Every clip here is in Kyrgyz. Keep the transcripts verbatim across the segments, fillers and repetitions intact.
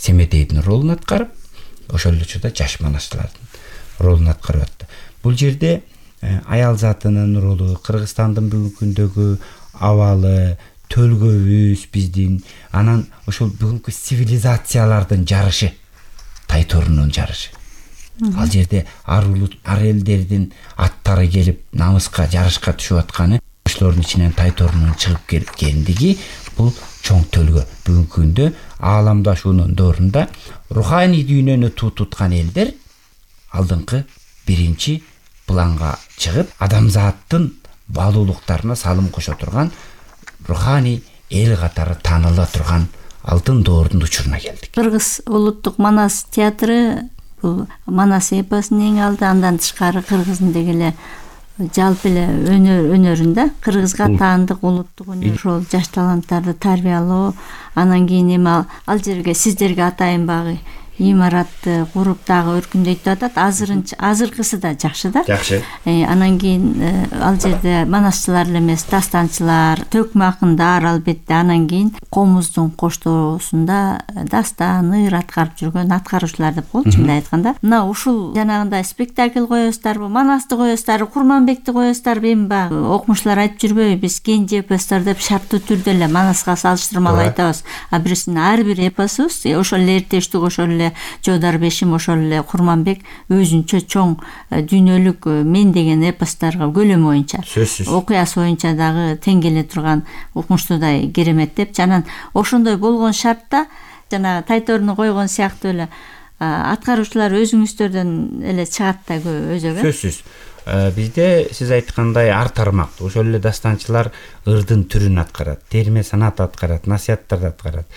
Семетейдин ролун аткарып, ошол эле учурда жаш манасчылардын ролун аткарып атты. Бул жерде аял затынын ролу, Кыргызстандын бүгүнкү күндөгү абалы, төлгөбүз биздин, анан ошол бүгүнкү цивилизациялардын жарышы, Тайторунун жарышы. Ал жерде ар улут, ар элдердин аттары келип намыска, жарышка түшүп атканы, ошолордун ичинен Тайторунун чыгып келгендиги бул чоң төлгө. Бүгүнкү күндө ааламдашуунун доорунда руханий дүйнөнү туу туткан элдер алдыңкы биринчи планга чыгып, адамзаттын баалуулуктарына салым кошо турган руханий эл катары тааныла турган алтын доордун учуруна келдик. Кыргыз улуттук Манас театры бул Манас эпосунун эң алды, андан тышкары кыргыздын деги эле жалпы эле өнөр өнөрүндө кыргызга таандык улуттук өнөр, ошол жаш таланттарды тарбиялоо, анан кийин эми ал жерге сиздерге атайын багы имаратты куруп дагы өркүндөйт деп атат. Азырынча азыркысы да жакшы да. Жакшы. Анан кийин ал жерде манасчылар эле эмес, дастанчылар, төкмө акындар албетте, анан кийин комуздун коштоосунда дастан, ыр аткарып жүргөн аткаруучулар деп коелучу, мындай айтканда. Мына ушул жанагындай спектакль коесуздарбы, Манасты коесуздарбы, Курманбекти коесуздарбы, эми баягы окумуштуулар айтып жүрбөйбү, биз кенже эпостор деп шарттуу түрдө эле Манаска салыштырмалуу айтабыз. А бирисинин ар бир эпосубуз ошол эле эртештик, ошол эле Жодарбешим, ошол эле Курманбек өзүнчө чоң дүйнөлүк мен деген эпостторго көлөм боюнча, окуясы боюнча дагы тең келе турган укмуштуудай керемет деп, анан ошондой болгон шартта жана Тайторуну койгон сыяктуу эле аткаруучулар өзүңүздөрдөн эле чыгат да өзөгө. Сөзсүз. Бизде сиз айткандай ар тармактуу ошол эле дастанчылар ырдын түрүн аткарат, терме санат аткарат, насыяттарды аткарат,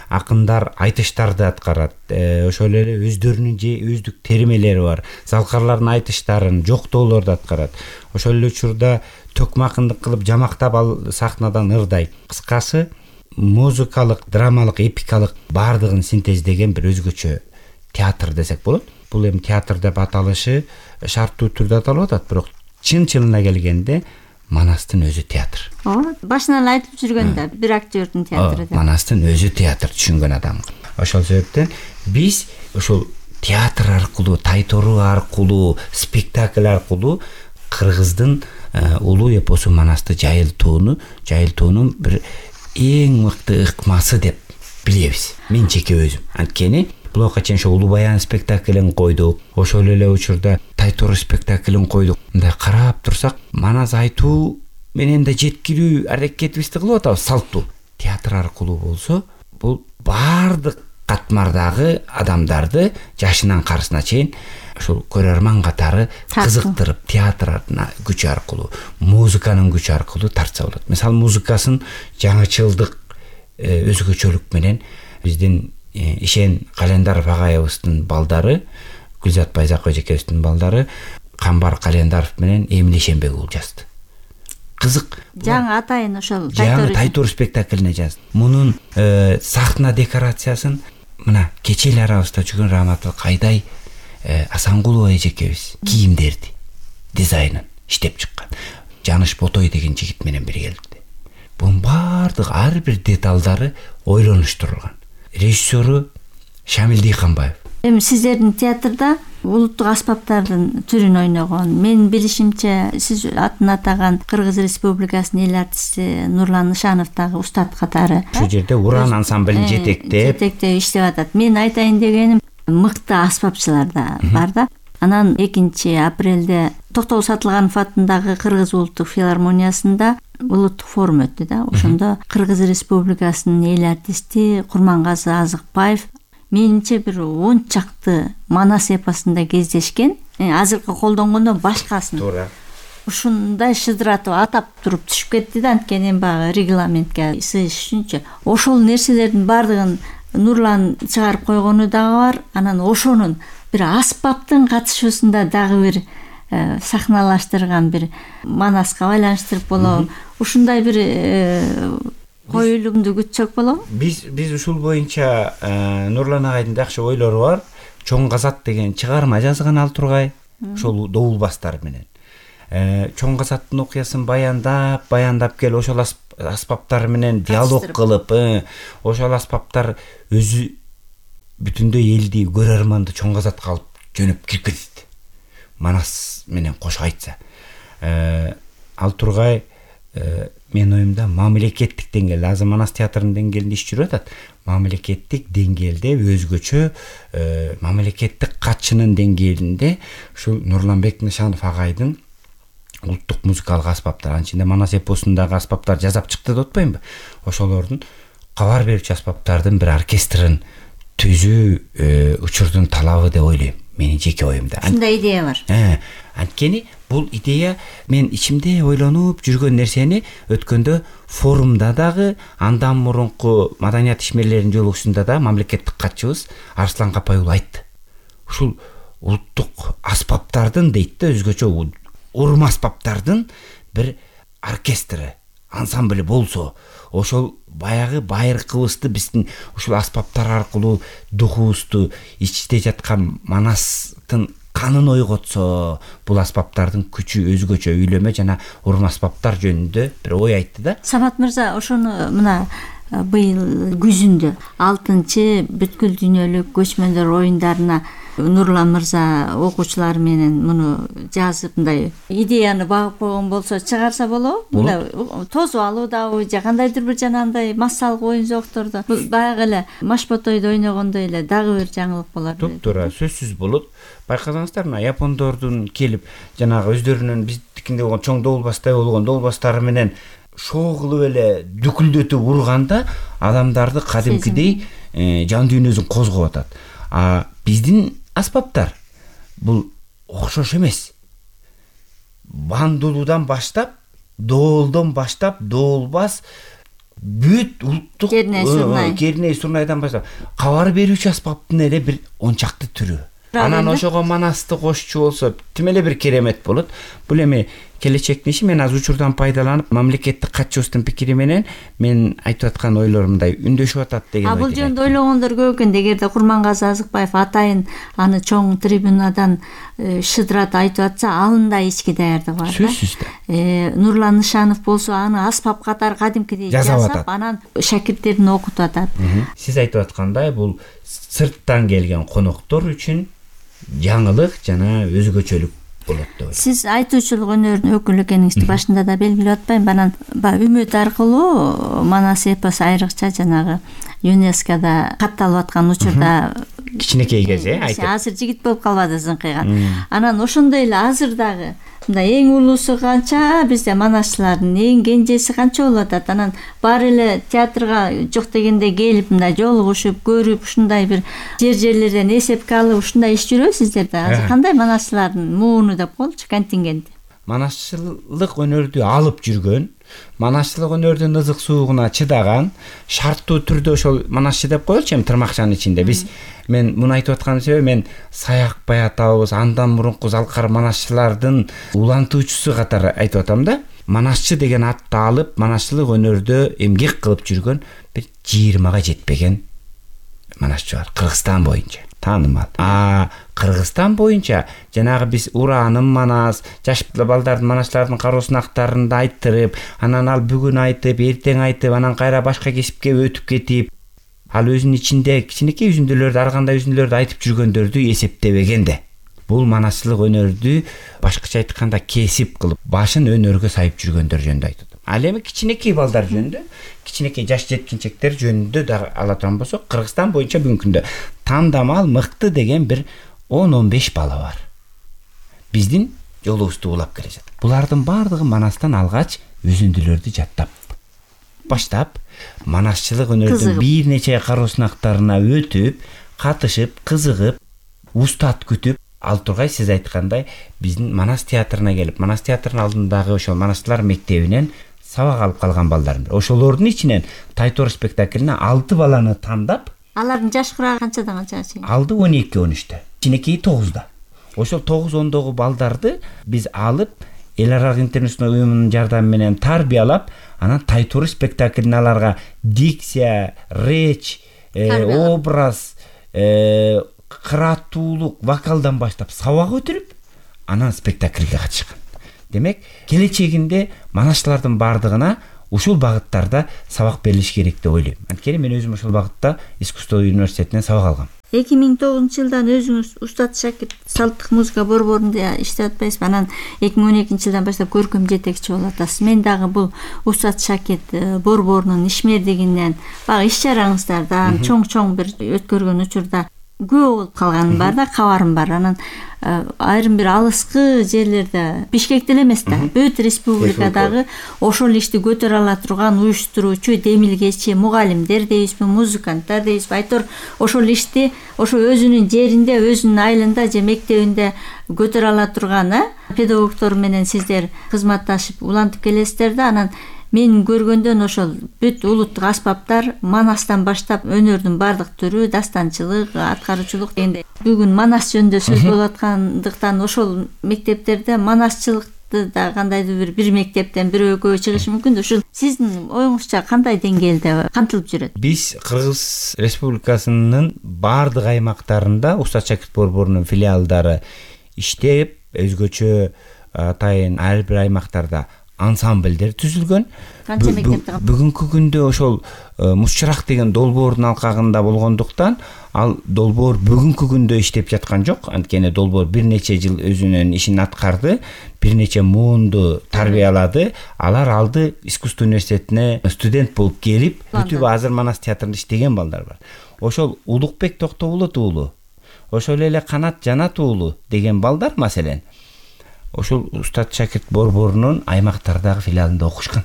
акындар айтыштарды аткарат, ошол эле өздөрүнүн же өздүк термелери бар, залкарлардын айтыштарын, жоктоолорду аткарат. Ошол эле учурда төкмө акындык кылып жамактап ал сахнадан ырдай. Кыскасы, музыкалык, драмалык, эпикалык баардыгын синтездеген бир өзгөчө театр десек болот. Бул эми театр деп аталышы шарттуу түрдө аталып атат, бирок чын-чынына келгенде Манастын өзү театр. Ооба, башынан эле айтып жүргөндө бир актёрдун театры деп. Манастын өзү театр түшүнгөн адам. Ошол себептен биз ошол театр аркылуу, Тайтору аркылуу, спектакль аркылуу кыргыздын улуу эпосу Манасты жайылтууну, жайылтуунун бир эң мыкты ыкмасы деп билебиз. Мен жеке өзүм. Анткени Булакка чейин ошо Улуу Баян спектаклин койдук. Ошол эле учурда Тайтору спектаклин койдук. Мындай карап турсак, Манас айтуу менен да жеткирүү аракетибизди кылып атабыз, салттуу. Театр аркылуу болсо, бул баардык катмардагы адамдарды жашынан карысына чейин ошол көрөрман катары кызыктырып, театрдын күчү аркылуу, музыканын күчү аркылуу тартса болот. Мисалы, музыкасын жаңычылдык, өзгөчөлүк менен биздин Ишен Календаров агайыбыздын балдары, Гүлзат Байзак эжекебиздин балдары Камбар Календаров менен Эмиль Ишенбек уулу жазды. Кызык. Жаңы атайын ошол Тайтор спектаклине жазды. Мунун сахна декорациясын мына кече эле арабызда жүргөн Раматыл Кайдай Асангулова эжекебиз кийимдерди, дизайнын иштеп чыккан. Жаныш Ботой деген жигит менен биргеликте. Бунун баардык ар бир деталдары ойлонуштурулган. Режиссеру Шамил Дыйканбаев. Эми сиздердин театрда улуттук аспаптардын түрүн ойногон, менин билишимче сиз атын атаган Кыргыз Республикасынын эл артисти Нурлан Нышанов дагы устат катары ушул жерде Уран ансамблин жетектеп жетектеп иштеп атат. Мен айтайын дегеним, мыкты аспапчылар да бар да. Анан экинчи апрелде Токтогул Сатылганов атындагы Кыргыз улуттук филармониясында улуттук форум өттү да. Ошондо Кыргыз Республикасынын эл артисти Курмангазы Азыкбаев менимче бир он чакты Манас эпосунда кездешкен. Азыркы колдонгондон башкасын. Туура. Ушундай шыдыратып атап туруп түшүп кетти да, анткени баягы регламентке сыйыш үчүнчү. Ошол нерселердин баардыгын Нурлан чыгарып койгону дагы бар. Анан ошонун бир аспаптын катышуусунда дагы бир сахналаштырган бир Манаска байланыштырып болобу. Ушундай бир коюлумду күтсөк болобу? Биз биз ушул боюнча Нурлан агайдын жакшы ойлору бар. Чоң казат деген чыгарма жазган ал тургай. Ошол Доулбастар менен. Чоң казаттын окуясын баяндап, баяндап кел, ошол аспаптар менен диалог кылып, ошол аспаптар өзү бүтүндөй элди көрөрманды чоң казатка алып жөнөп кирип кетет. Манас менен кошо айтса. Ал тургай менин оюмда мамлекеттик деңгээлде азыр Манас театрынын деңгээлинде иш жүрүп атат. Мамлекеттик деңгээлде өзгөчө мамлекеттик катчынын деңгээлинде ушул Нурланбек Нышанов агайдын улуттук музыкалык аспаптар, анын ичинде Манас эпосундагы аспаптар жасап чыкты деп атпаймынбы? Ошолордун кабар берүүчү аспаптардын бир оркестрин түзүү учурдун талабы деп ойлойм. Менин жеке оюмда. Ушундай идея бар. Анткени бул идея мен ичимде ойлонуп жүргөн нерсени өткөндө форумда дагы, андан мурунку маданият ишмерлеринин жолугушуунда да мамлекеттик катчыбыз Арслан Капай уулу айтты. Ушул улуттук аспаптардын дейт да, өзгөчө урум аспаптардын бир оркестри, ансамбль болсо, ошол баягы байыркыбызды биздин ушул аспаптар аркылуу духубузду, ичте жаткан Манастын канын ойготсо, бул аспаптардын күчү өзгөчө. Үйлөмө жана урум аспаптар жөнүндө бир ой айтты да. Самат мырза, ошону мына быйыл күзүндө алтынчы бүткүл дүйнөлүк көчмөндөр оюндарына Нурлан мырза окуучулар менен муну жазып мындай идеяны багып койгон болсо чыгарса болобу? Мындай тосуп алуудабы же кандайдыр бир жанагындай массалык оюн зооктордо баягы эле Машботойдо ойногондой эле дагы бир жаңылык болор. Туура, сөзсүз болот. Байкасаңыздар, мына япондордун келип жанагы өздөрүнүн биздикинде болгон чоң доолбастай болгон доолбастары менен шоо кылып эле дүкүлдөтүп урганда адамдарды кадимкидей жан дүйнөсүн козгоп атат. А биздин аспаптар бул окшош эмес. Бандулуудан баштап, доолдон баштап, доолбас, бүт улуттук керней сурнайдан баштап кабар берүүчү аспаптын эле бир он чакты түрү. Анан ошого Манасты кошчу болсо тим эле бир керемет болот. Бул эми келечектин иши. Мен азыр учурдан пайдаланып, мамлекеттик катчыбыздын пикири менен мен айтып аткан ойлорумдай үндөшүп атат деген ойдо. А бул жөнүндө ойлогондор көп экен. Эгерде Курмангазы Азыкбаев атайын аны чоң трибунадан шыдырат айтып атса, алындай ички даярдыгы бар. Сөзсүз да. Нурлан Нышанов болсо аны аспап катары кадимкидей жасап, анан шакирттерин окутуп атат. Сиз айтып аткандай, бул сырттан келген коноктор үчүн жаңылык жана өзгөчөлүк болот деп ойлойм. Сиз айтуучулук өнөрүнүн өкүлү экениңизди башында да белгилеп атпаймынбы? Анан баягы үмүт аркылуу Манас эпосу айрыкча жанагы ЮНЕСКОда катталып аткан учурда кичинекей кез э айтып. Азыр жигит болуп калбады зыңкыйган. Анан ошондой эле азыр дагы мындай эң улуусу канча, бизде манасчылардын эң кенжеси канча болуп атат. Анан баары эле театрга жок дегенде келип мындай жолугушуп, көрүп, ушундай бир жер-жерлерден эсепке алып ушундай иш жүрөбү сиздерде? Азыр кандай манасчылардын мууну деп коелучу, контингенти? Манасчылык өнөрдү алып жүргөн, манасчылык өнөрдүн ызык суугуна чыдаган, шарттуу түрдө ошол манасчы деп коелучу, эми тырмакчанын ичинде. Биз мен муну айтып атканым себеби, мен Саякбай атабыз, андан мурунку залкар манасчылардын улантуучусу катары айтып атам да. Манасчы деген атты алып, манасчылык өнөрдө эмгек кылып жүргөн бир жыйырмага жетпеген манасчы бар Кыргызстан боюнча. Таанымал. А Кыргызстан боюнча жанагы биз Ураанын Манас, жаш балдардын манасчылардын кароосун актарында айттырып, анан ал бүгүн айтып, эртең айтып, анан кайра башка кесипке өтүп кетип, ал өзүнүн ичинде кичинекей үзүндүлөрдү, ар кандай үзүндүлөрдү айтып жүргөндөрдү эсептебегенде. Бул манасчылык өнөрдү башкача айтканда кесип кылып, башын өнөргө сайып жүргөндөр жөнүндө айтып. Ал эми кичинекей балдар жөнүндө, кичинекей жаш жеткинчектер жөнүндө да ала турган болсок, Кыргызстан боюнча бүгүнкү күндө тандамал мыкты деген бир он он беш бала бар. Биздин жолубузду улап келе жатат. Булардын баардыгы Манастан алгач үзүндүлөрдү жаттап, баштап, манасчылык өнөрдүн бир нече кароосунактарына өтүп, катышып, кызыгып, устат күтүп, ал тургай сиз айткандай биздин Манас театрына келип, Манас театрынын алдындагы ошол манасчылар мектебинен сабак алып калган балдарым. Ошолордун ичинен Тайтор спектаклине алты баланы тандап, алардын жаш курагы канчадан канчага чейин? Алды он эки он үчтө, кичинекей тогузда. Ошол тогуз ондогу балдарды биз алып, Эл аралык интернационал уюмунун жардамы менен тарбиялап, анан Тайтор спектаклине аларга дикция, реч, образ, кырааттуулук, вокалдан баштап сабак өтүрүп, анан спектакльге катышкан. Демек, келечегинде манасчылардын бардыгына ушул багыттарда сабак берилиш керек деп ойлойм. Анткени мен өзүм ошол багытта искусство университетинен сабак алгам. эки миң тогузунчу жылдан өзүңүз Устат Шакирт салттык музыка борборунда иштеп атпайсызбы? Анан эки миң он экинчи жылдан баштап көркөм жетекчи болуп атасыз. Мен дагы бул Устат Шакирт борборунун ишмердигинен, баягы иш чараңыздардан чоң-чоң бир өткөргөн учурда күбө болуп калганым бар да, кабарым бар. Анан айрым бир алыскы жерлерде, Бишкекте эле эмес да, бүт республикадагы ошол ишти көтөрө ала турган уюштуруучу, демилгечи мугалимдер дейбизби, музыканттар дейбизби, айтор ошол ишти ошо өзүнүн жеринде, өзүнүн айылында же мектебинде көтөрө ала турган педагогдор менен сиздер кызматташып улантып келесиздер да. Анан мен көргөндөн ошол бүт улуттук аспаптар Манастан баштап өнөрдүн бардык түрү, дастанчылык, аткаруучулук дегенде бүгүн Манас жөнүндө сөз болуп аткандыктан ошол мектептерде манасчылыкты да кандайдыр бир бир мектептен бирөө экөө чыгышы мүмкүн. Ушул сиздин оюңузча кандай деңгээлде камтылып жүрөт? Биз Кыргыз Республикасынын бардык аймактарында Устат Шакирт борборунун филиалдары иштеп, өзгөчө атайын ар бир аймактарда ансамбльдер түзүлгөн. Канча мектепте? Бүгүнкү күндө ошол Мусчырак деген долбоордун алкагында болгондуктан, ал долбоор бүгүнкү күндө иштеп жаткан жок. Анткени долбоор бир нече жыл өзүнүн ишин аткарды, бир нече муунду тарбиялады. Алар алды искусство университетине студент болуп келип, бүтүп азыр Манас театрында иштеген балдар бар. Ошол Улукбек Токтоболот уулу, ошол эле Канат Жанат уулу деген балдар маселен ошол Устат Шакирт борборунун аймактардагы филиалында окушкан.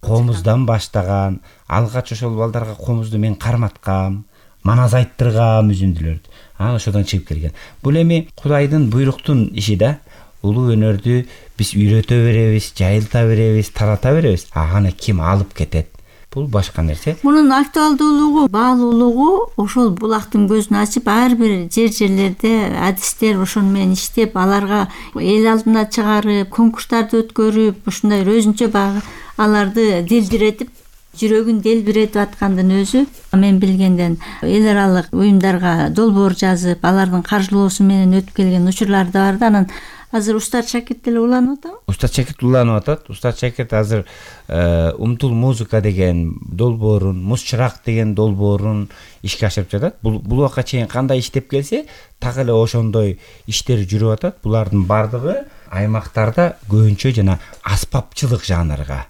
Комуздан баштаган, алгач ошол балдарга комузду мен карматкам, манас айттыргам үзүндүлөрдү. Анан ошодон чыгып келген. Бул эми Кудайдын буйруктун иши да. Улуу өнөрдү биз үйрөтө беребиз, жайылта беребиз, тарата беребиз. Аны ким алып кетет? Бул башка нерсе. Мунун актуалдуулугу, баалуулугу ошол булактын көзүн ачып, ар бир жер-жерлерде адистер ошону менен иштеп, аларга эл алдына чыгарып, конкурстарды өткөрүп, ушундай өзүнчө багы аларды дилдиретип, жүрөгүн делбиретип аткандын өзү мен билгенден эл аралык уюмдарга долбоор жазып, алардын каржылоосу менен өтүп келген учурлар да бар да. Анан азыр Устат Шакирт деле уланып атабы? Устат Шакирт уланып атат. Устат Шакирт азыр Умтул музыка деген долбоорун, Мусчырак деген долбоорун ишке ашырып жатат. Бул бул убакка чейин кандай иштеп келсе, так эле ошондой иштер жүрүп атат. Булардын бардыгы аймактарда көбүнчө жана аспапчылык жанрга.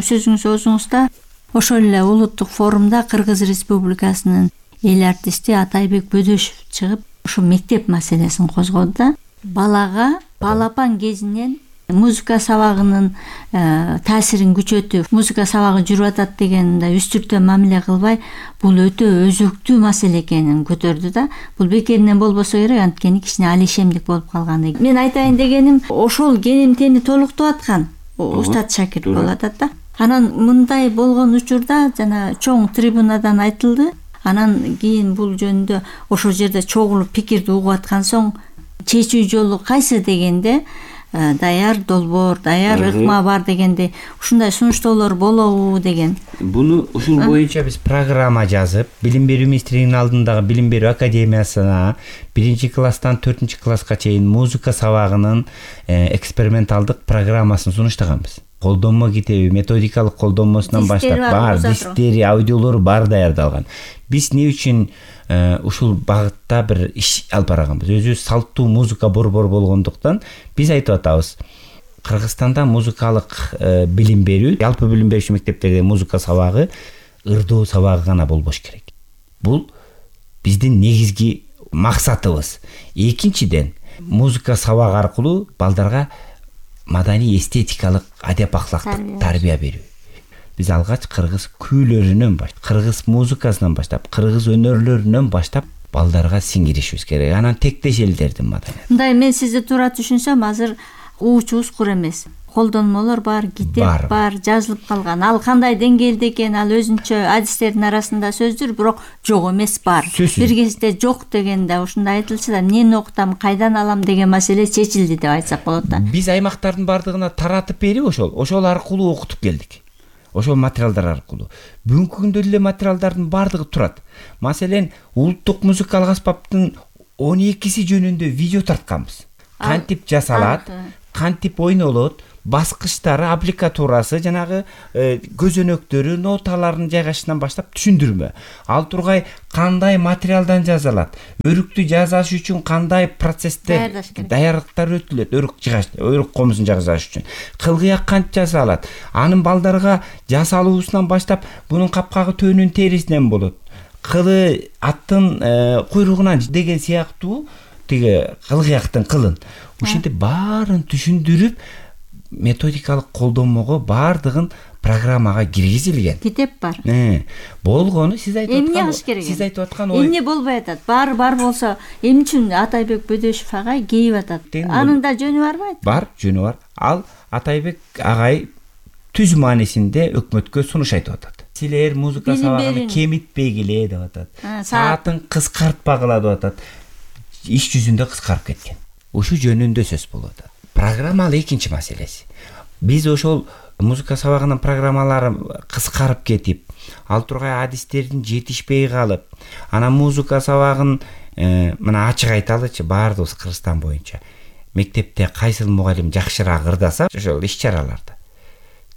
Сөзүңүз өзүңүздө ошол эле улуттук форумда Кыргыз Республикасынын эл артисти Атайбек Бөдөшев чыгып, ошо мектеп маселесин козгоду да. Балага балапан кезинен музыка сабагынын таасирин күчөтүп, музыка сабагы жүрүп атат дегенде үстүртө мамиле кылбай, бул өтө өзөктүү маселе экенин көтөрдү да. Бул бекеринен болбосо керек, анткени кичине алишемдик болуп калган. Мен айтайын дегеним, ошол генемтени толуктап аткан Устат Шакирт болуп атат да. Анан мындай болгон учурда жана чоң трибунадан айтылды. Анан кийин бул жөнүндө ошол жерде чогулуп пикирди угуп аткан соң чечүү жолу кайсы дегенде даяр долбоор, даяр ыкма бар дегенде ушундай сунуштоолор болобу деген. Буну ушул боюнча биз программа жазып, билим берүү министрлигинин алдындагы билим берүү академиясына биринчи класстан төртүнчү класска чейин музыка сабагынын эксперименталдык программасын сунуштаганбыз. Колдонмо китеби, методикалык колдонмосунан баштап бар, дистери, аудиолору бар даярдалган. Биз эмне үчүн ушул багытта бир иш алып барганбыз? Өзү салттуу музыка борбору болгондуктан биз айтып атабыз. Кыргызстанда музыкалык билим берүү, жалпы билим берүүчү мектептерде музыка сабагы ырдоо сабагы гана болбош керек. Бул биздин негизги максатыбыз. Экинчиден, музыка сабагы аркылуу балдарга маданий эстетикалык адеп ахлактык тарбия берүү. Биз алгач кыргыз күүлөрүнөн баштап, кыргыз музыкасынан баштап, кыргыз өнөрлөрүнөн баштап балдарга сиңиришибиз керек. Анан тектеш элдердин маданияты. Мындай мен сизди туура түшүнсөм, азыр уучу ускур эмес. Колдонмолор бар, китеп бар, бар жазылып калган. Ал кандай деңгээлде экен, ал өзүнчө адистердин арасында сөздөр, бирок жок эмес, бар. Бир кезде жок дегенде ушундай айтылчу да, эмнени окутам, кайдан алам деген маселе чечилди деп айтсак болот да. Биз аймактардын бардыгына таратып берип, ошол, ошол аркылуу окутуп келдик. Ошол материалдар аркылуу. Бүгүнкү күндө эле материалдардын бардыгы турат. Маселен, улуттук музыкалык аспаптын он экиси жөнүндө видео тартканбыз. Кантип жасалат, кантип ойнолот, баскычтары, аппликатурасы, жанагы көзөнөктөрү, ноталарын жайгашынан баштап түшүндүрмө. Ал тургай кандай материалдан жазылат, өрүктү жасаш үчүн кандай процесстер, даярдыктар өтүлөт, өрүк жыгаш, өрүк комузун жасаш үчүн кылгыяк канча жасалат, анын балдарга жасалуусунан баштап бунун капкагы төөнүн терисинен болот, кылы аттын куйругунан деген сыяктуу тиги кылгыяктын кылын ушинтип баарын түшүндүрүп методикалык колдомого баардыгын программага киргизилген. Китеп бар. Болгону сиз айтып аткан, сиз айтып аткан ой. Эмне болбой атат? Баары бар болсо, эмне үчүн Атайбек Бөдөшев агай кейип атат? Анын да жөнү барбы? Бар, жөнү бар. Ал Атайбек агай түз маанисинде өкмөткө сунуш айтып атат. Силер музыка сабагын кемитпегиле деп атат. Саатын кыскартпагыла деп атат. Иш жүзүндө кыскарып кеткен. Ушу жөнүндө сөз болуп атат. Программа ал экинчи маселеси. Биз ошол музыка сабагынын программалары кыскарып кетип, ал тургай адистердин жетишпей калып, анан музыка сабагын мына ачык айталычы, баардыгыбыз Кыргызстан боюнча мектепте кайсыл мугалим жакшыраак ырдаса, ошол иш-чараларда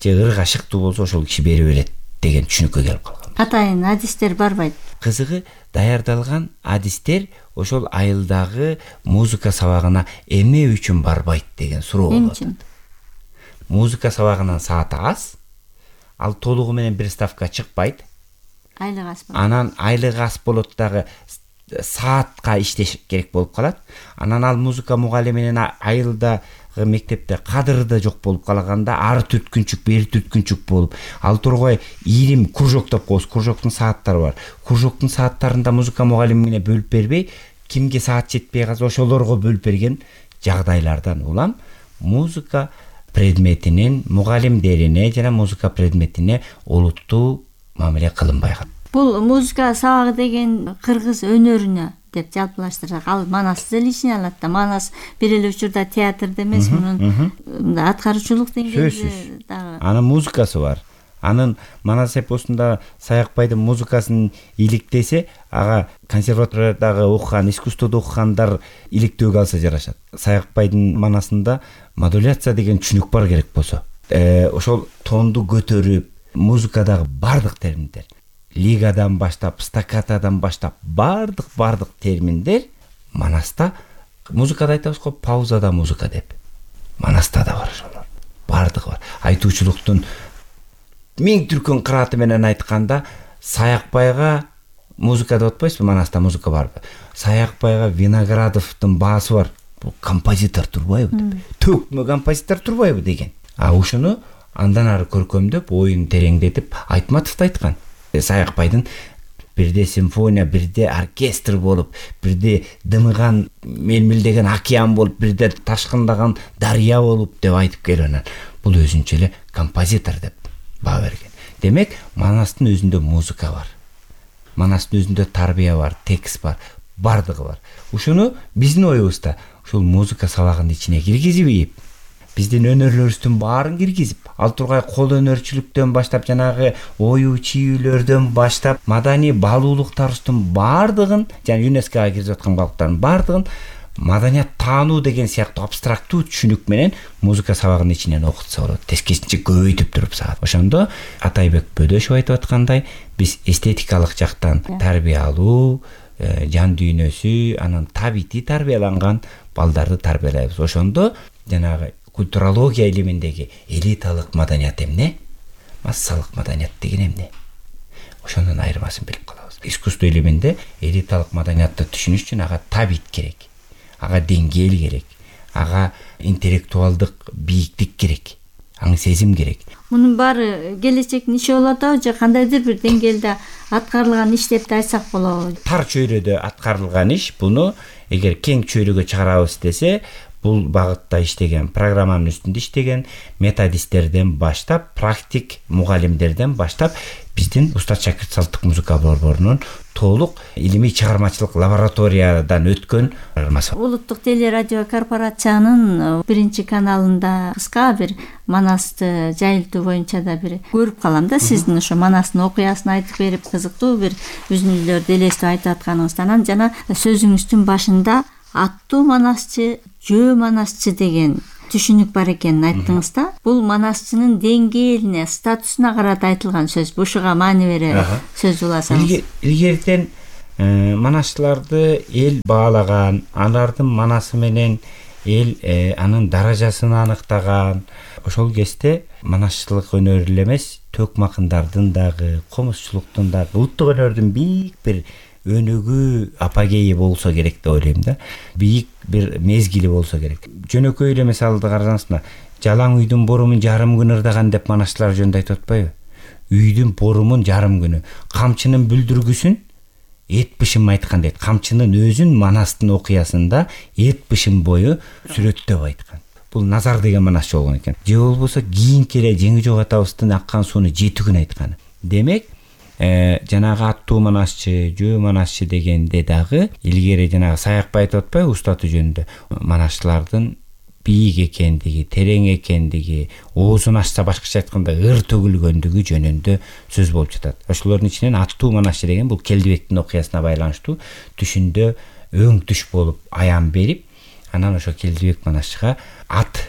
же ырга шыктуу болсо ошол киши бере берет деген түшүнүккө келип калган. Атайын адистер барбайт. Кызыгы даярдалган адистер ошол айылдагы музыка сабагына эмне үчүн барбайт деген суроо болот. Музыка сабагынын сааты аз, ал толугу менен бир ставка чыкпайт. Айлык аз болот. Анан айлык аз болот дагы саатка иштеш керек болуп калат. Анан ал музыка мугалиминин айылдагы мектепте кадыры да жок болуп калганда ары түрткүнчүк, бери түрткүнчүк болуп, ал тургай ийрим кружок деп коебуз. Кружоктун сааттары бар. Кружоктун сааттарында музыка мугалимине бөлүп бербей, кимге саат жетпей калса ошолорго бөлүп берген жагдайлардан улам музыка предметинин мугалимдерине жана музыка предметине олуттуу мамиле кылынбай калат. Бул музыка сабагы деген кыргыз өнөрүнө деп жалпылаштырсак, ал Манасты эле ичине алат да. Манас бир эле учурда театрда эмес, мунун аткаруучулук деңгээлде дагы. Анын музыкасы бар. Анын Манас эпосунда Саякбайдын музыкасын иликтесе, ага консерваториядагы окуган, искусстводо окугандар иликтөөгө алса жарашат. Саякбайдын Манасында модуляция деген түшүнүк бар керек болсо. Ошол тонду көтөрүп, музыкадагы бардык терминдер, лигадан баштап, стаккатадан баштап бардык бардык терминдер Манаста, музыкада айтабыз го, паузада музыка деп. Манаста да бар ошолор. Бардыгы бар. Айтуучулуктун миң түркүн кырааты менен айтканда, Саякбайга музыка деп атпайсызбы? Манаста музыка барбы? Саякбайга Виноградовдун баасы бар. Бул композитор турбайбы? Төкмө композитор турбайбы деген. А ушуну андан ары көркөмдөп, оюн тереңдетип Айтматов айткан. Саякбайдын бирде симфония, бирде оркестр болуп, бирде дымыган, мелмилдеген океан болуп, бирде ташкындаган дарыя болуп деп айтып келген. Бул өзүнчө эле композитор деп баа берген. Демек, Манастын өзүндө музыка бар. Манастын өзүндө тарбия бар, текст бар, бардыгы бар. Ушуну биздин оюбузда ушул музыка сабагынын ичине киргизип, биздин өнөрлөрүбүздүн баарын киргизип, ал тургай кол өнөрчүлүктөн баштап, жанагы ою чийүүлөрдөн баштап, маданий баалуулуктарыбыздын баардыгын, жана ЮНЕСКОга кирип аткан балыктардын баардыгын маданият таануу деген сыяктуу абстрактуу түшүнүк менен музыка сабагынын ичинен окутса болот. Тескерисинче көбөйтүп туруп саат. Ошондо Атайбек Бөдөшев айтып аткандай, биз эстетикалык жактан тарбия алуу, жан дүйнөсү, анан табити тарбияланган балдарды тарбиялайбыз. Ошондо жанагы культурология илиминдеги элиталык маданият эмне, массалык маданият деген эмне? Ошонун айырмасын билип калабыз. Искусство илиминде элиталык маданиятты түшүнүш үчүн ага табит керек, ага деңгээл керек, ага интеллектуалдык бийиктик керек, аң сезим керек. Мунун баары келечектин иши болот же кандайдыр бир деңгээлде аткарылган иш деп айтсак болобу? Тар чөйрөдө аткарылган иш. Буну эгер кең чөйрөгө чыгарабыз десе, бул багытта иштеген, программанын үстүндө иштеген методисттерден баштап, практик мугалимдерден баштап, биздин Устат шакирт салттык музыка борборунун толук илимий чыгармачылык лабораториядан өткөн программасы. Улуттук телерадио корпорациянын биринчи каналында кыска бир Манасты жайылтуу боюнча да бир көрүп калам да, сиздин ошо Манастын окуясын айтып берип, кызыктуу бир үзүндүлөрдү элестип айтып атканыңыздан, жана сөзүңүздүн башында аттуу манасчы, жөө манасчы деген түшүнүк бар экенин айттыңыз да. Бул манасчынын деңгээлине, статусуна карата айтылган сөз. Ушуга маани бере сөз уласаңыз. Илгертен манасчыларды эл баалаган, алардын манасы менен эл анын даражасын аныктаган. Ошол кезде манасчылык өнөр эле эмес, төкмакындардын дагы, комузчулуктун дагы, улуттук өнөрдүн бийик бир өнүгүү апогейи болсо керек деп ойлойм да. Бийик бир мезгили болсо керек. Жөнөкөй эле мисалды карасаңыз, жалаң үйдүн борумун жарым күн ырдаган деп манасчылар жөнүндө айтып атпайбы? Үйдүн борумун жарым күнү, камчынын бүлдүргүсүн эт бышым айткан дейт. Камчынын өзүн манастын окуясында эт бышым бою сүрөттөп айткан. Бул Назар деген манасчы болгон экен. Же болбосо кийинки эле Жеңи Жок атабыздын аккан сууну жети күн айткан. Демек, Э, жанагы аттуу манасчы, жөө манасчы дегенде дагы илгери жанагы Саякбай айтып атпайбы устаты жөнүндө манасчылардын бийик экендиги, терең экендиги, оозун ачса башкача айтканда ыр төгүлгөндүгү жөнүндө сөз болуп жатат. Ошолордун ичинен аттуу манасчы деген бул Келдибектин окуясына байланыштуу түшүндө өң түш болуп аян берип, анан ошо Келдибек манасчыга ат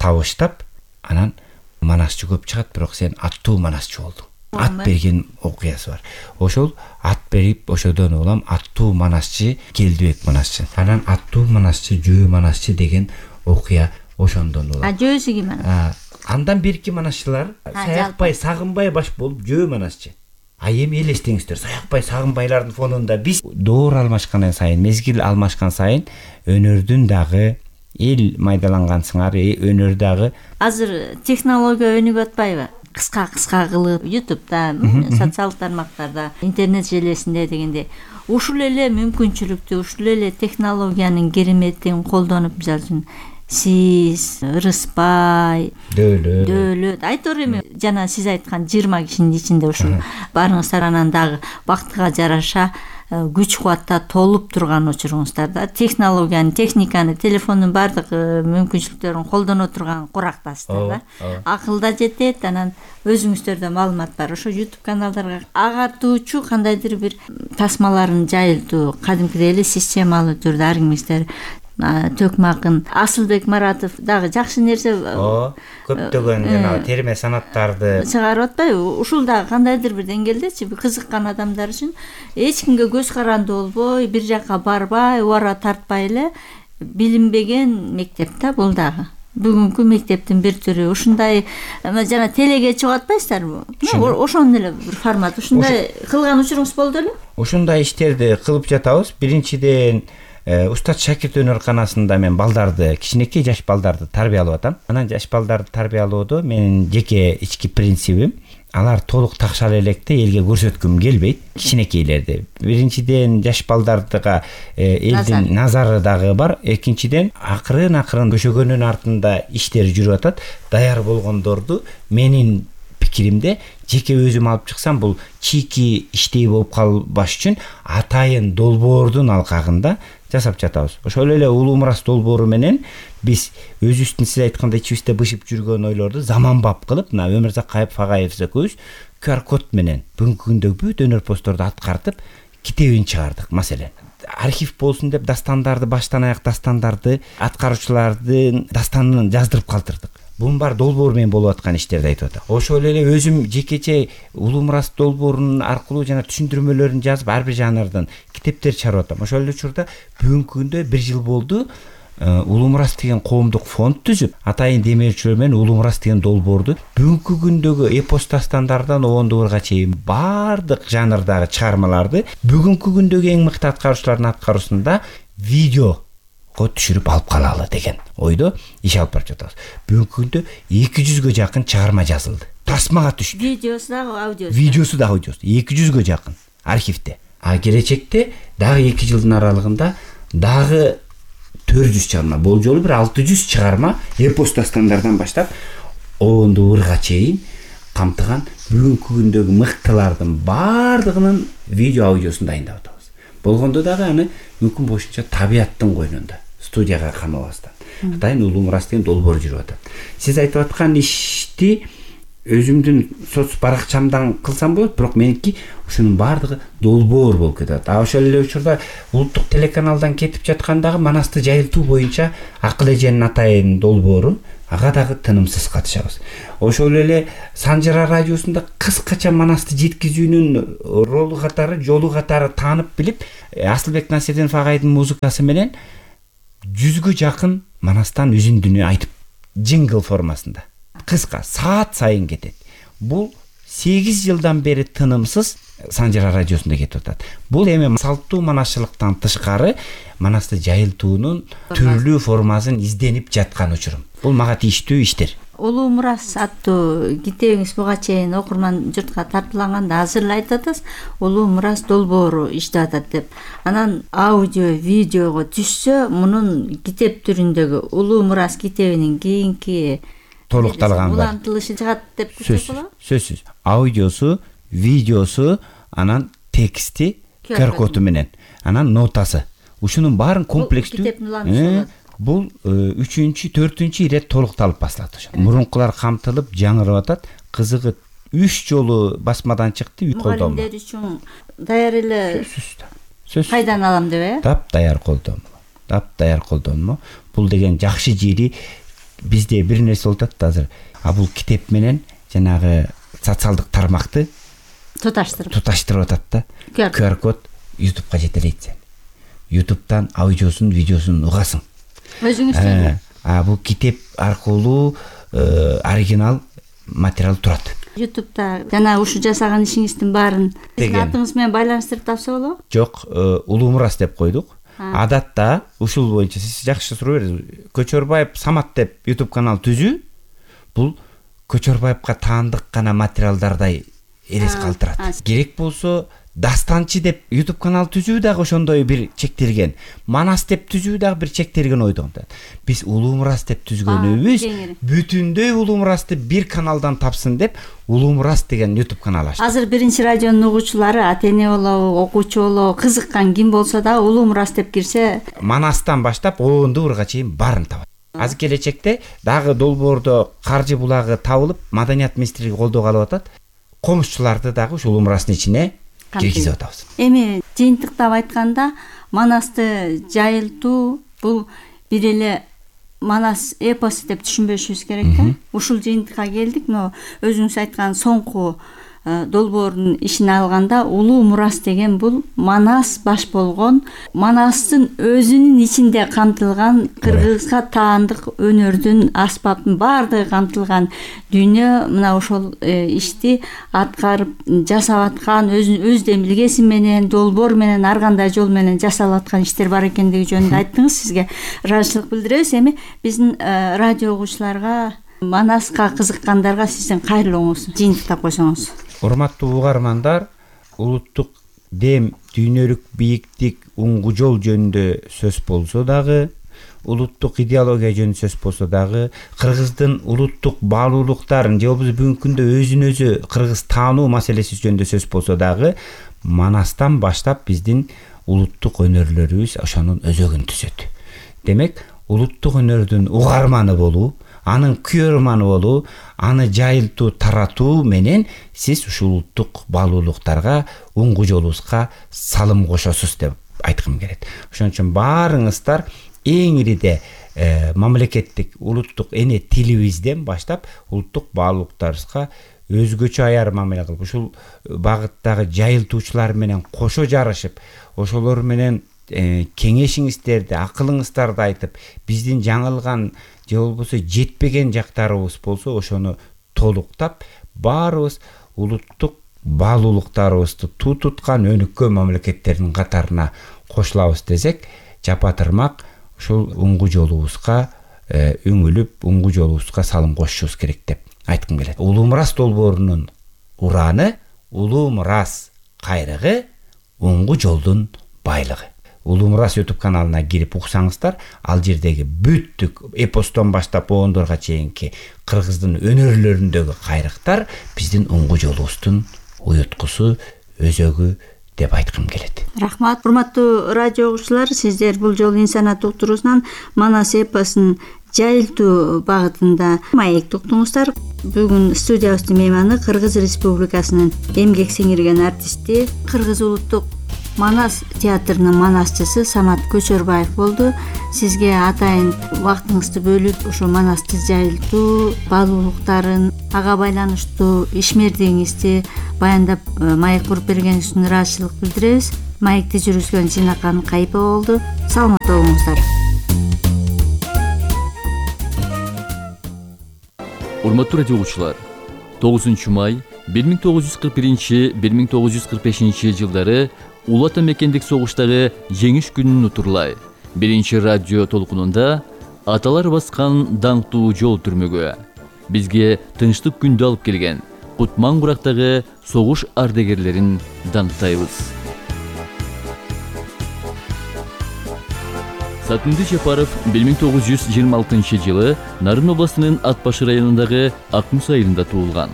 табыштап, анан манасчы көп чыгат, бирок сен аттуу манасчы болдуң. Ат берген окуясы бар. Ошол ат берип, ошодон улам аттуу манасчы Келдибек манасчы. Анан аттуу манасчы, жөө манасчы деген окуя ошондон улам. А жөөсү ким анан? Андан берки манасчылар Саякбай, Сагынбай баш болуп жөө манасчы. А эми элестеңиздер, Саякбай, Сагынбайлардын фонунда биз доор алмашкан сайын, мезгил алмашкан сайын өнөрдүн дагы эл майдаланган сыңары, өнөр дагы азыр технология өнүгүп атпайбы? Кыска-кыска кылып ютубта, социалдык тармактарда, интернет желесинде дегенде ушул эле мүмкүнчүлүктү, ушул эле технологиянын кереметин колдонуп, мисалы үчүн сиз, Ырыспай, Дөөлөт, Дөөлөт, айтор эми жана сиз айткан жыйырма кишинин ичинде ушул барыңыздар, анан дагы бактыга жараша күч кубатта толуп турган учуруңуздар да. Технологияны, техниканы, телефондун бардык мүмкүнчүлүктөрүн колдоно турган курактасыздар да. Акылда жетет, анан өзүңүздөрдө маалымат бар. Ошо YouTube каналдарга агартуучу кандайдыр бир тасмаларын жайылтуу, кадимкидей эле системалуу түрдө ар кимиңиздер Төкмакын, Асылбек Маратов дагы жакшы нерсе, көптөгөн жана терме санаттарды чыгарып атпайбы? Ушул дагы кандайдыр бир деңгээлдечи кызыккан адамдар үчүн эч кимге көз каранды болбой, бир жакка барбай, убара тартпай эле билинбеген мектеп да бул дагы. Бүгүнкү мектептин бир түрү. Ушундай жана телеге чыгып атпайсыздарбы? Ошондой эле бир формат. Ушундай кылган учуруңуз болду эле? Ушундай иштерди кылып жатабыз. Биринчиден Устат Шакирт өнөрканасында мен балдарды, кичинекей жаш балдарды тарбиялап атам. Анан жаш балдарды тарбиялоодо менин жеке ички принцибим, алар толук такшал электе элге көрсөткүм келбейт, кичинекейлерди. Биринчиден жаш балдардыга элдин назары дагы бар. Экинчиден акырын-акырын көшөгөнүн артында иштер жүрүп атат. Даяр болгондорду менин пикиримде жеке өзүм алып чыксам, бул чийки иштей болуп калбаш үчүн атайын долбоордун алкагында жасап жатабыз. Ошол эле Улуу Мурас долбоору менен биз өзүбүздүн сиз айткандай ичибизде бышып жүргөн ойлорду заманбап кылып, мына Өмүрзак Кайыпов экөөбүз ку ар код менен бүгүнкү күндөгү бүт өнөр постторду аткартып китебин чыгардык. Маселен, архив болсун деп дастандарды, баштан аяк дастандарды, аткаруучулардын дастанын жаздырып калтырдык. Бунун баары долбоор менен болуп аткан иштерди айтып атам. Ошол эле өзүм жекече Улуу Мурас долбоорунун аркылуу жана түшүндүрмөлөрүн жазып, ар бир жанрдан китептер чыгарып атам. Ошол эле учурда бүгүнкү күндө бир жыл болду Улуу Мурас деген коомдук фонд түзүп, атайын демелчилер менен Улуу Мурас деген долбоорду бүгүнкү күндөгү эпос дастандардан Оондубурга чейин баардык жанрдагы чыгармаларды бүгүнкү күндөгү эң мыкты аткаруучулардын аткаруусунда видео түшүрүп алып калалы деген ойдо иш алып барып жатабыз. Бүгүнкү күндө эки жүзгө жакын чыгарма жазылды. Тасмага түштү. Видеосу дагы, аудиосу. Видеосу дагы, аудиосу. эки жүзгө жакын архивде. А келечекте дагы эки жылдын аралыгында дагы төрт жүз чыгарма, бул жолу бир алты жүз чыгарма эпос дастандардан баштап Оондубурга чейин камтыган бүгүнкү күндөгү мыктылардын баардыгынын видео аудиосун дайындап атабыз. Болгондо дагы аны мүмкүн болушунча табияттын койнунда, студияга камабастан. Атайын Улуу Мурас деген долбоор жүрүп атат. Сиз айтып аткан ишти өзүмдүн соц баракчамдан кылсам болот, бирок меники ушунун баардыгы долбоор болуп кетет. А ошол эле учурда улуттук телеканалдан кетип жаткандагы манасты жайылтуу боюнча Акыл эженин атайын долбоору, ага дагы тынымсыз катышабыз. Ошол эле Санжара радиосунда кыскача манасты жеткизүүнүн ролу катары, жолу катары таанып билип, Асылбек Насирдинов агайдын музыкасы менен жүзгө жакын манастан үзүндүнү айтып, джингл формасында. Кыска, саат сайын кетет. Бул сегиз жылдан бери тынымсыз Санжара радиосунда кетип атат. Бул эми салттуу манасчылыктан тышкары манасты жайылтуунун түрлүү формасын изденип жаткан учурум. Бул мага тийиштүү иштер. Улуу мурас аттуу китебиңиз буга чейин окурман журтка тартууланганда азыр эле айтып атасыз, улуу мурас долбоору иштеп атат деп. Анан аудио, видеого түшсө, мунун китеп түрүндөгү улуу мурас китебинин кийинки толукталган бар. Улантылышы жыгат деп күтсөк болобу? Сөзсүз. Аудиосу, видеосу, анан тексти, кю ар коду менен, анан нотасы. Ушунун баарын комплекстүү. Бул үчүнчү, төртүнчү ирет толукталып басылат ошо. Мурункулар камтылып, жаңырып атат. Кызыгы үч жолу басмадан чыкты, колдонмо. Мугалимдер үчүн даяр эле. Сөзсүз. Кайдан алам деп э? Дап даяр колдонмо. Дап даяр колдонмо. Бул деген жакшы жери бизде бир нерсе болуп атат азыр. А бул китеп менен жанагы социалдык тармакты туташтырып туташтырып атат да. кю ар код ютубка жетелейт сен. ютубтан аудиосун, видеосун угасың. Өзүңүз. А бул китеп аркылуу оригинал материал турат. ютубта жана ушу жасаган ишиңиздин баарын атыңыз менен байланыштырып тапса болобу? Жок, улуу мурас деп койдук. Адатта ушул боюнча сиз жакшы суроо бердиңиз. Көчөрбаев Самат деп ютуб канал түзүү, бул Көчөрбаевка таандык гана материалдардай элес калтырат. Керек болсо Дастанчы деп ютуб канал түзүү дагы ошондой бир чектелген. Манас деп түзүү дагы бир чектелген ойдон. Биз улуу мурас деп түзгөнүбүз бүтүндөй улуу мурасты бир каналдан тапсын деп улуу мурас деген ютуб канал ачтык. Азыр биринчи радионун угуучулары ата-эне болобу, окуучу болобу, кызыккан ким болсо да улуу мурас деп кирсе, Манастан баштап Оондууурга чейин баарын табат. Азыр келечекте дагы долбоордо каржы булагы табылып, маданият министрлиги колдоого алып атат. Комушчуларды дагы ушул улуу мурастын ичине киргизип атабыз. Эми жыйынтыктап айтканда, манасты жайылтуу бул бир эле манас эпосу деп түшүнбөшүбүз керек да. Ушул жыйынтыкка келдик. Но өзүңүз айткан соңку долбоордун ишин алганда улуу мурас деген бул манас баш болгон, манастын өзүнүн ичинде камтылган кыргызга таандык өнөрдүн, аспаптын баардыгы камтылган дүйнө. Мына ошол ишти аткарып жасап аткан, өз демилгеси менен, долбоор менен, ар кандай жол менен жасалып аткан иштер бар экендиги жөнүндө айттыңыз. Сизге ыраазычылык билдиребиз. Эми биздин радио угуучуларга, манаска кызыккандарга сиздин кайрылууңуз жыйынтыктап койсоңуз. Урматтуу угармандар, улуттук дем, дүйнөлүк бийиктик, уңгу жол жөнүндө сөз болсо дагы, улуттук идеология жөнүндө сөз болсо дагы, кыргыздын улуттук баалуулуктарын же болбосо бүгүнкү күндө өзүн өзү кыргыз таануу маселеси жөнүндө сөз болсо дагы, манастан баштап биздин улуттук өнөрлөрүбүз ошонун өзөгүн түзөт. Демек, улуттук өнөрдүн угарманы болуу, анын күйөрманы болуу, аны жайылтуу, таратуу менен сиз ушул улуттук баалуулуктарга, уңгу жолубузга салым кошосуз деп айткым келет. Ошон үчүн баарыңыздар эң ириде мамлекеттик улуттук эне тилибизден баштап улуттук баалуулуктарыбызга өзгөчө аяр мамиле кылып, ушул багыттагы жайылтуучулар менен кошо жарышып, ошолор менен кеңешиңиздерди, акылыңыздарды айтып, биздин жаңылган же болбосо жетпеген жактарыбыз болсо ошону толуктап, баарыбыз улуттук баалуулуктарыбызды туу туткан өнүккөн мамлекеттердин катарына кошулабыз десек, жапатырмак ушул уңгу жолубузга үңүлүп, уңгу жолубузга салым кошушубуз керек деп айткым келет. Улуу мурас долбоорунун ураны улуу мурас кайрыгы, уңгу жолдун байлыгы. Улуу мурас ютуб каналына кирип уксаңыздар, ал жердеги бүттүк эпостон баштап Оондорго чейинки кыргыздын өнөрлөрүндөгү кайрыктар биздин уңгу жолубуздун уюткусу, өзөгү деп айткым келет. Рахмат. Урматтуу радио угуучулар, сиздер бул жолу инсаният уктуруусунан Манас эпосун жайылтуу багытында маек уктуңуздар. Бүгүн студиябыздын мейманы Кыргыз Республикасынын эмгек сиңирген артисти, Кыргыз улуттук Манас театрынын манасчысы Самат Көчөрбаев болду. Сизге атайын убактыңызды бөлүп, ошо манасты жайылтуу баалуулуктарын, ага байланыштуу ишмердигиңизди баяндап маек куруп бергениңиз үчүн ыраазычылык билдиребиз. Маекти жүргүзгөн Жинакан Кайыпова болду. Саламатта болуңуздар. Урматтуу радио угуучулар, тогузунчу май бир миң тогуз жүз кырк биринчи — бир миң тогуз жүз кырк бешинчи жылдары Улуу Ата Мекендик согуштагы жеңиш күнүн утурлай биринчи радио толкунунда аталар баскан даңктуу жол түрмөгө бизге тынчтык күндү алып келген Кутман Курактагы согуш ардагерлерин даңктайбыз. Сатынды Жапаров бир миң тогуз жүз жыйырма алтынчы жылы Нарын областынын Ат Башы районундагы Ак Муз айылында туулган.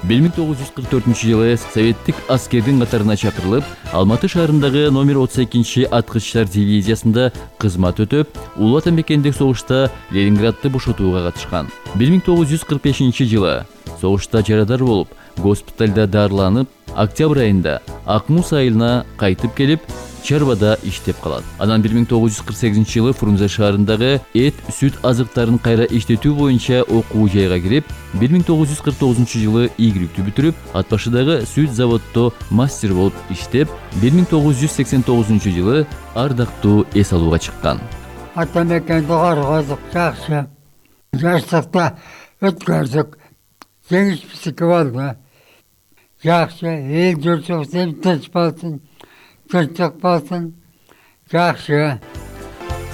бир миң тогуз жүз кырк төртүнчү жылы советтик аскердин катарына чакырылып, Алматы шаарындагы номер отуз экинчи аткычтар дивизиясында кызмат өтөп, Улуу Ата Мекендик согушта Ленинградты бошотууга катышкан. бир миң тогуз жүз кырк бешинчи жылы согушта жарадар болуп, госпиталда дарыланып, октябрь айында Ак Муз айылына кайтып келип, чарбада иштеп калат. Анан бир миң тогуз жүз кырк сегизинчи жылы Фрунзе шаарындагы эт, сүт азыктарын кайра иштетүү боюнча окуу жайга кирип, бир миң тогуз жүз кырк тогузунчу жылы ийгиликтүү бүтүрүп, Ат Башыдагы сүт заводдо мастер болуп иштеп, бир миң тогуз жүз сексен тогузунчу жылы ардактуу эс алууга чыккан. Ата мекенди коргодук, жакшы. Жаштыкта өткөрдүк. Жеңиш биздики болду. Жакшы, эл журтубуз тынч болсун. Тынчтык болсун. Жакшы.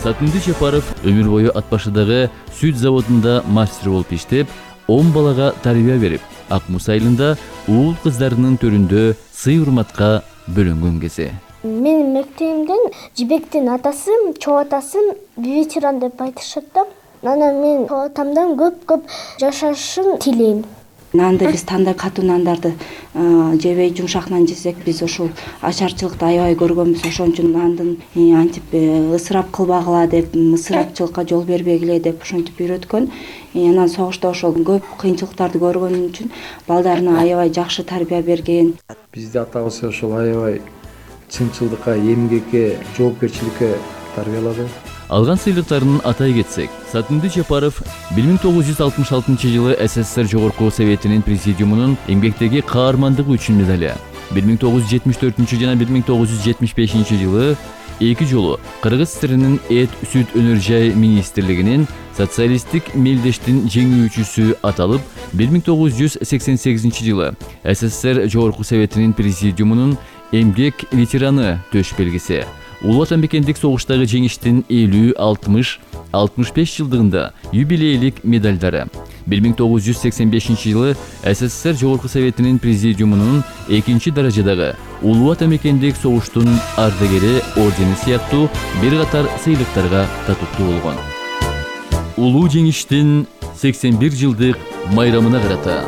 Сатынды Жапаров өмүр бою Ат Башыдагы сүт заводунда мастер болуп иштеп, он балага тарбия берип, Ак Муз айылында уул кыздарынын төрүндө сый-урматка бөлөнгөн кези. Менин мектебимден Жибектин атасы, чоо атасын ветеран деп айтышат да. Анан мен чоо атамдан көп-көп жашашын тилейм. Нанды биз тандап катуу нандарды жебей жумшак нан жесек, биз ошол ачарчылыкты аябай көргөнбүз. Ошон үчүн нандын антип ысырап кылбагыла деп, ысырапчылыкка жол бербегиле деп ошентип үйрөткөн. Анан согушта ошол көп кыйынчылыктарды көргөнүн үчүн балдарына аябай жакшы тарбия берген. Бизде атабыз ошол аябай чынчылдыкка, эмгекке, жоопкерчиликке тарбиялады. Алган сыйлыктарын атай кетсек, Сатынды Жапаров бир миң тогуз жүз алтымыш алтынчы жылы СССР Жогорку Советинин президиумунун эмгектеги каармандыгы үчүн медали, бир миң тогуз жүз жетимиш төртүнчү жана бир миң тогуз жүз жетимиш бешинчи жылы эки жолу Кыргыз ССРинин эт, сүт өнөр жай министрлигинин социалисттик мелдештин жеңүүчүсү аталып, бир миң тогуз жүз сексен сегизинчи жылы СССР Жогорку Советинин президиумунун эмгек ветераны төш белгиси, Улуу Ата Мекендик согуштагы жеңиштин элүү, алтымыш, алтымыш беш жылдыгында юбилейлик медалдары, бир миң тогуз жүз сексен бешинчи жылы СССР Жогорку Советинин президиумунун экинчи даражадагы Улуу Ата Мекендик согуштун ардагери ордени сыяктуу бир катар сыйлыктарга татыктуу болгон. Улуу жеңиштин сексен бир жылдык майрамына карата